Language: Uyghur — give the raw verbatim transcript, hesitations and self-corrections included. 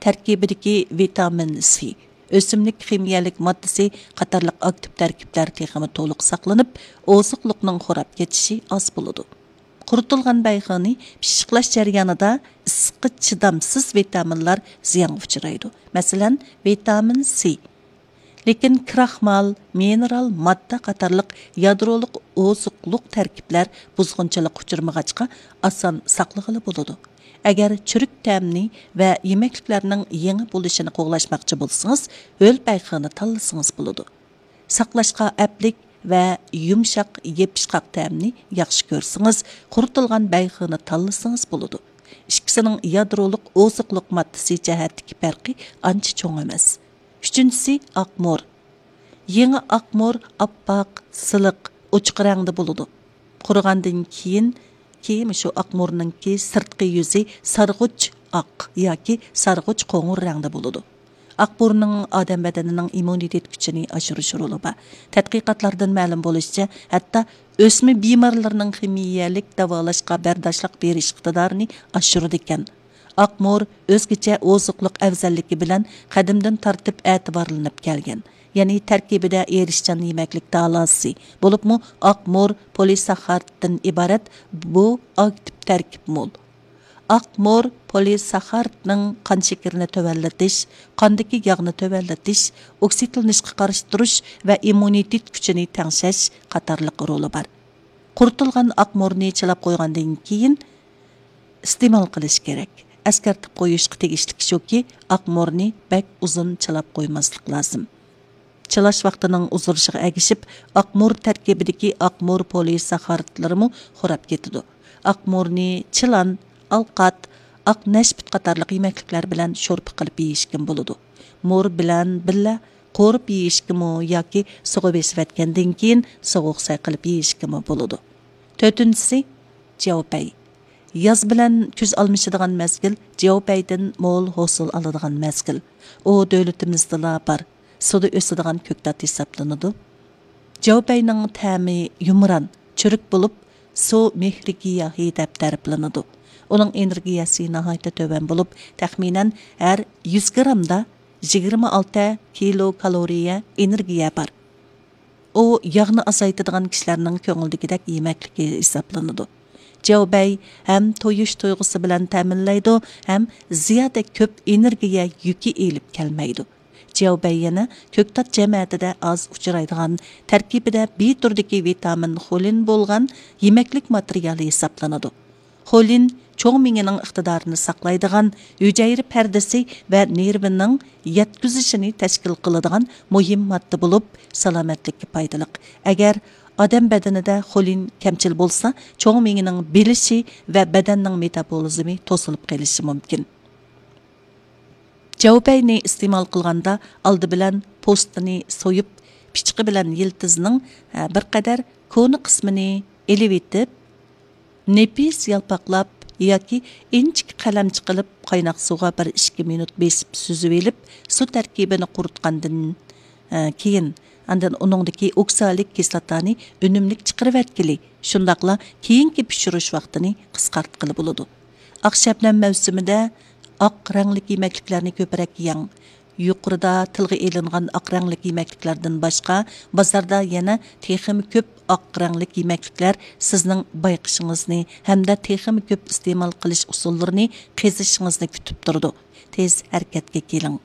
تەركىبىدىكى ۋىتامىن سى، ئۆسۈملۈك خىمىيەلىك ماددىسى قاتارلىق ئاكتىپ تەركىبلەر تېخىمۇ تولۇق ساقلىنىپ، ئوزۇقلۇقنىڭ خوراپ كېتىشى ئاز بولىدۇ. قۇرۇتۇلغان بەيخېنى پىششىقلاش جەريانىدا ئىسسىققا چىدامسىز ۋىتامىنلار زىيانغا ئۇچرايدۇ. مەسىلەن، ۋىتامىن سى. لېكىن كراخمال، مىنېرال ماددا قاتارلىق يادرولۇق ئوزۇقلۇق تەركىبلەر بۇزغۇنچىلىققا ئۇچرىمىغاچقا، ئاسان ساقلىغىلى بولىدۇ. ئەگەر چۈرۈك تەمنى ۋە يېمەكلىكلەرنىڭ يېڭى بولۇشىنى قوغلاشماقچى بولسىڭىز، ھۆل بەيخېنى تاللىسىڭىز بولىدۇ. ساقلاشقا ئەپلىك ۋە يۇمشاق، يېپىشقاق تەمنى ياخشى كۆرسىڭىز، قۇرۇتۇلغان بەيخېنى تاللىسىڭىز بولىدۇ. ئىككىسىنىڭ يادرولۇق ئوزۇقلۇق ماددىسى جەھەتتىكى پەرقى ئانچە چوڭ ئەمەس. ئۈچىنچىسى، ئاقمۇر. يېڭى ئاقمۇر ئاپئاق، سىلىق، ئوچۇق رەڭدە بولىدۇ. قۇرۇغاندىن كېيىن، كېيىن شۇ ئاقمۇرنىڭكى سىرتقى يۈزى سارغۇچ ئاق ياكى سارغۇچ قوڭۇر رەڭدە بولىدۇ. ئاقمۇرنىڭ ئادەم بەدىنىنىڭ ئىممۇنىتېت كۈچىنى ئاشۇرۇش رولى بار. تەتقىقاتلاردىن مەلۇم بولۇشىچە، ھەتتا ئۆسمە بىمارلارنىڭ خىمىيەلىك داۋالاشقا بەرداشلىق بېرىش ئىقتىدارىنى ئاشۇرىدىكەن. ئاقمۇر ئۆزگىچە ئوزۇقلۇق ئەۋزەللىكى بىلەن قەدىمدىن تارتىپ ئەتىۋارلىنىپ كەلگەن. يەنى تەركىبىدە ئېرىشچان يېمەكلىك تالاسى، بولۇپمۇ ئاقمۇر پولىساخاردتىن ئىبارەت بۇ ئاكتىپ تەركىب مول. ئاقمۇر پولىساخاردنىڭ قان شېكىرىنى تۆۋەنلىتىش، قاندىكى ياغنى تۆۋەنلىتىش، ئوكسىدلىنىشقا قارشى تۇرۇش ۋە ئىممۇنىتېت كۈچىنى تەڭشەش قاتارلىق رولى بار. قۇرۇتۇلغان ئاقمۇرنى چىلاپ قويغاندىن كېيىن ئىستېمال قىلىش كېرەك. ئەسكەرتىپ قويۇشقا تېگىشلىك شۇكى، ئاقمۇرنى بەك ئۇزۇن چىلاپ قويماسلىق لازىم. چىلاش ۋاقتىنىڭ ئۇزىرىشىغا ئەگىشىپ، ئاقمۇر تەركىبىدىكى ئاقمۇر پولىساخارىدلىرىمۇ خوراپ كېتىدۇ. ئاقمۇرنى چىلان، ئالقات، ئاق نەشپۈت قاتارلىق يېمەكلىكلەر بىلەن شورپا قىلىپ يېيىشكىمۇ بولىدۇ. مۇر بىلەن بىللە قورۇپ يېيىشكىمۇ ياكى سۇغا بېسىۋەتكەندىن كېيىن سوغۇق سەي قىلىپ يېيىشكىمۇ بولىدۇ. تۆتىنچىسى، جياۋپەي. ياز بىلەن كۈز ئالمىشىدىغان مەزگىل جياۋپەيدىن مول ھوسۇل ئالىدىغان مەزگىل. ئۇ دۆلىتىمىزدىلا بار، سۇدا ئۆسىدىغان كۆكتات ھېسابلىنىدۇ. جياۋپەينىڭ تەمى يۇمران، چۈرۈك بولۇپ، سۇ مېھرىگىياھى دەپ تەرىپلىنىدۇ. ئۇنىڭ ئېنېرگىيەسى ناھايىتى تۆۋەن بولۇپ، تەخمىنەن ھەر يۈز گرامدا يىگىرمە ئالتە كىلو كالورىيە ئېنېرگىيە بار. ئۇ ياغنى ئازايتىدىغان كىشىلەرنىڭ كۆڭلىدىكىدەك يېمەكلىكى ھېسابلىنىدۇ. جياۋبەي ھەم تويۇش تۇيغۇسى بىلەن تەمىنلەيدۇ، ھەم زىيادە كۆپ ئېنېرگىيە يۈكى ئېلىپ كەلمەيدۇ. جياۋبەي يەنە كۆكتات جەمەتىدە ئاز ئۇچرايدىغان، تەركىبىدە بى تۈرىدىكى ۋىتامىن خولىن بولغان يېمەكلىك ماتېرىيالى ھېسابلىنىدۇ. خولىن چوڭ مېڭىنىڭ ئىقتىدارىنى ساقلايدىغان، ھۈجەيرە پەردىسى ۋە نېرۋىنىڭ يەتكۈزۈشىنى تەشكىل قىلىدىغان مۇھىم ماددا بولۇپ، سالامەتلىككە پايدىلىق. ئەگەر ئادەم بەدىنىدە خولىن كەمچىل بولسا، چوڭ مېڭىنىڭ بىلىشى ۋە بەدەننىڭ مېتابولىزمى توسۇلۇپ قېلىشى مۇمكىن. جياۋبەينى ئىستېمال قىلغاندا، ئالدى بىلەن پوستىنى سويۇپ، پىچىقى بىلەن يىلتىزنىڭ، ئە، بىر قەدەر كونا قىسمىنى ئېلىۋېتىپ، نېپىز يالپاقلاپ ياكى ئىنچىكە قەلەمچە قىلىپ، قايناق سۇغا بىر ئىككى مىنۇت بېسىپ سۈزۈۋېلىپ، سۇ تەركىبىنى قۇرۇتقاندىن، ئە، كېيىن، ئاندىن ئۇنىڭدىكى ئوكسالىك كىسلاتانى ئۈنۈملۈك چىقىرىۋەتكىلى، شۇنداقلا كېيىنكى پىشۇرۇش ۋاقتىنى قىسقارتقىلى بولىدۇ. ئاق شەبنەم مەۋسۇمىدە ئاق رەڭلىك يېمەكلىكلەرنى كۆپرەك يەڭ. يۇقىرىدا تىلغا ئېلىنغان ئاق رەڭلىك يېمەكلىكلەردىن باشقا، بازاردا يەنە تېخىمۇ كۆپ ئاق رەڭلىك يېمەكلىكلەر سىزنىڭ بايقىشىڭىزنى ھەمدە تېخىمۇ كۆپ ئىستېمال قىلىش ئۇسۇللىرىنى قېزىشىڭىزنى كۈتۈپ تۇرىدۇ. تېز ھەرىكەتكە كېلىڭ.